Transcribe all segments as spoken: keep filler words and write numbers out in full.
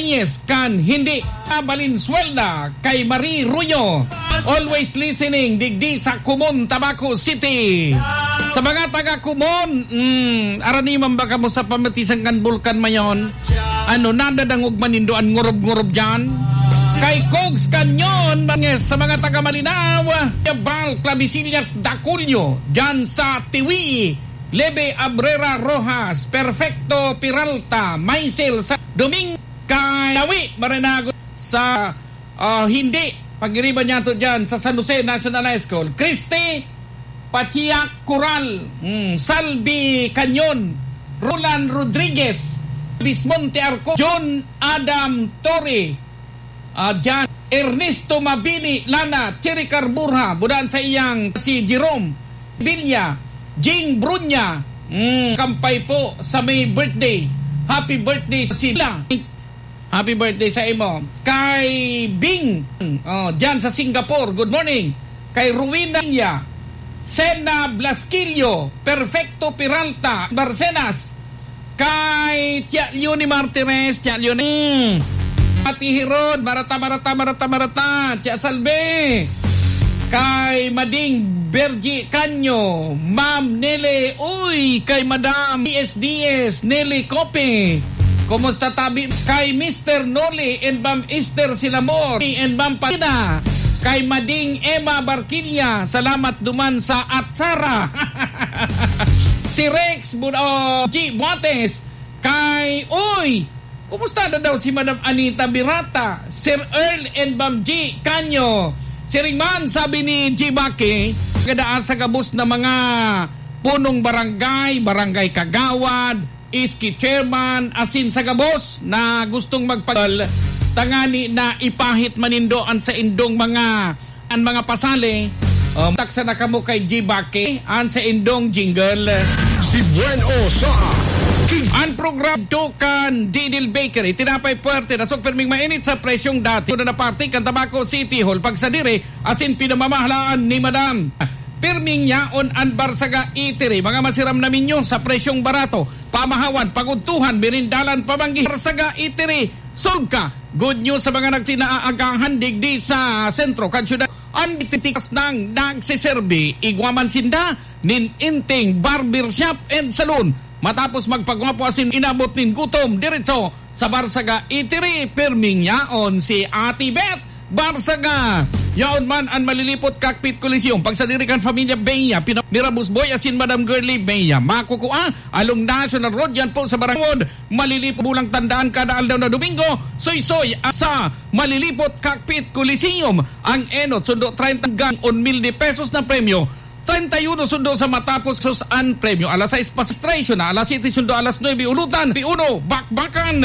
Yes, kan hindi. Valenzuela, kay Marie Ruyo. Always listening, digdi sa Kumon, Tabaco City. Sa mga taga Kumon, mm, araniman ba kamo sa pamatisan kan Bulkan Mayon? Ano, nadadangog man nindo an ngurob-ngurob dyan? Kay Cogs Canyon, mga, sa mga taga Malinao, Bal, Clavisillas, Daculio, dyan sa Tiwi, Lebe Abrera Rojas, Perfecto Peralta, Maisel sa Domingo, kay Nawi Marinago sa, ah, hindi, pagiriban niya to dyan sa San Jose National High School. Christy Patiak Coral, mm, Salvi Canyon, Roland Rodriguez, Bismonte Arco, John Adam Torre, ah, dyan, Ernesto Mabini, Lana, Cherry Carburha, budan sa iyang si Jerome Villa, Jing Brunya, mm, kampay po sa may birthday. Happy birthday sa sila. Happy birthday sa imo. Kay Bing, oh, dyan sa Singapore, good morning. Kay Ruwina, Sena Blasquillo, Perfecto Peralta, Barcenas. Kay Tia Leonie Martires, Tia Leonie. Ati Herod, Marata, Marata, Marata, Marata, Tia Salve. Kay Mading Bergie Canyo, Ma'am Nele, uy, kay Madam D S D S, Nele Cope. Kumusta tabi? Kay Mister Noli and Ma'am Esther Silamor and Ma'am Patina. Kay Mading Emma Barquilla, salamat duman sa atsara. Si Rex Bud-, oh, G Buates. Kay, uy, kumusta na daw si Madam Anita Birata, Sir Earl and Ma'am G Canyo? Siring man, sabi ni G Baki, kadaan sa gabos na mga punong barangay, barangay kagawad, S K chairman, asin sa gabos na gustong magpagal, tangani na ipahit manindo an saindong mga, an mga pasali. Um, taksa na kamo kay G Baki, an saindong jingle. Si Buen O sa King. An programa to kan Didil Bakery, tinapay puwerte, dasog perming mainit sa presyong dati. Una na parte kan Tabaco City Hall, pagsadiri, asin pinamamahalaan ni Madam. Pirming yaon an Barsaga Eatery, mga masiram na menyo sa presyong barato. Pamahawan, pagudtuhan, merindalan, pamanggi. Barsaga Eatery, solka. Good news sa mga nagsinaaagahan digdi sa sentro kan syudad. An titikas nang nagsiserbi, igwa man sinda nin inting barber shop and salon. Matapos magpagwapo asin inabot nin gutom, diretso sa Barsaga Eatery, pirming yaon si Ate Beth Barsaga. Yaon man an Malilipot Cockpit Coliseum. Pagsadiri kan Familia Bea, pina-, ni Rabus Boy asin Madam Girlie Bea. Makukua, along National Road, yan po sa Barangay Wood. Malilipot bulang tandaan kada aldaw na Domingo, soy-soy sa Malilipot Cockpit Coliseum. Ang enot, sundo treinta hanggang un mil de pesos na premyo. Treinta y uno sundo sa matapos sus an premyo. Alas sais pa registration, alas siyete sundo alas nuebe ulutan, pi uno, bakbakan.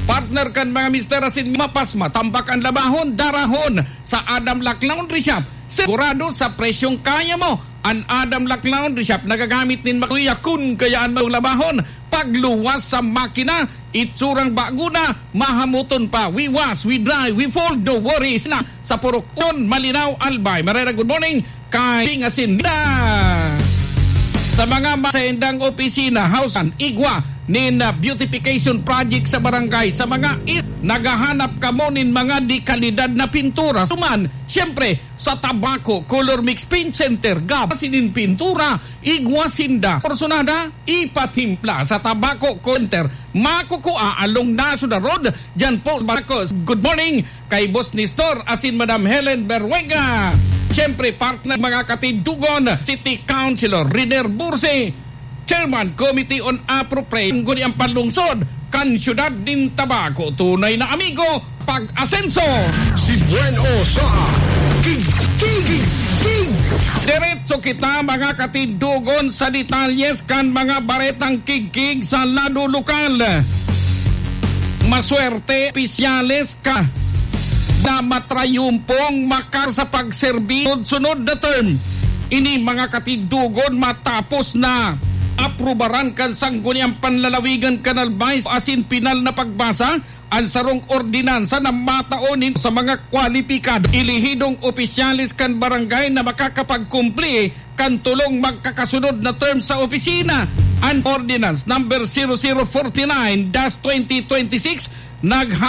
Partner kan mga mister asin mapas, matambak an labahon, darahon sa Adam Lac Laundry Shop. Sigurado sa presyong kaya mo. An Adam Lac Laundry Shop nagagamit nin makuya kun kaya an mga labahon. Pagluwas sa makina, itsurang bago na, mahamuton pa. We wash, we dry, we fold, no worries na. Sa Purok Union, Malinao, Albay. Marera, good morning. Kay Pingasinda. Sa mga ma-, sa indang opisina, housean, igwa nin, ah, beautification project sa barangay. Sa mga i-, naghahanap kamo nin mga de kalidad na pintura. Suman, siyempre, sa Tabaco Color Mix Paint Center, gab-, sinin pintura, igwa sinda. Porsunada, ipatimpla sa Tabaco Center. Makukua along National Road, dyan po sa Tabaco. Good morning kay Boss Nestor asin Madam Helen Berwega. Siyempre, partner, mga katindogon, City Councilor Riner Bursi, Chairman, Committee on Appropriation, guni ang panlungsod kan siyudad nin Tabaco. Tunay na amigo, pag-asenso. Si Buen O sa King, King, King. Diretso kita, mga katindogon, sa detalyes kan mga baretang kigkig sa lado lokal. Maswerte, opisyales ka na matrayumpong makar sa pagserbi sunod-sunod na term. Ini, mga katindogon, matapos na aprubaran kan Sangguniang Panlalawigan kan Albay asin pinal na pagbasa an sarong ordinansa na matao nin sa mga kwalipikado, elehidong opisyales kan barangay na makakapagkumpli kan tolong magkakasunod na term sa opisina. An Ordinance Number zero zero forty-nine dash twenty twenty-six naghang